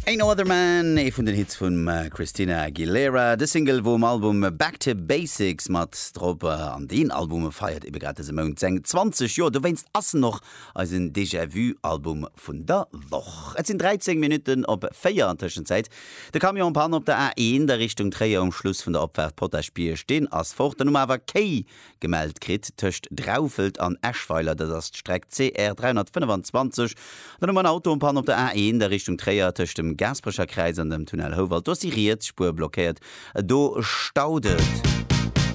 Ain't No Other Man, ee vun den Hits vum Christina Aguilera. De Single wor um Album Back to Basics mat drop an deen Album feiert ebe grad dëse Mount seng 20 Joer. Dowéinst ass en och eisen Déjà Vu Album vun der Woch. Et sinn 13 Minutten op 4 an Tëschenzäit. De Camion en panne op der A1 a Richtung Tréier um Schluss vun der Opfaart Potaschbierg, deen ass fort. Dann hu mer awer Kéi Gemellt kritt tëscht Draufelt an Eschweiler, dat ass d'Streck CR 325. Dann hu mer en Auto en panne op der A1 a Richtung Tréier tëscht dem Gaasperecher Kräiz an dem Tunnel Houwald. Do ass déi riets Spuer blockéiert, do staut et.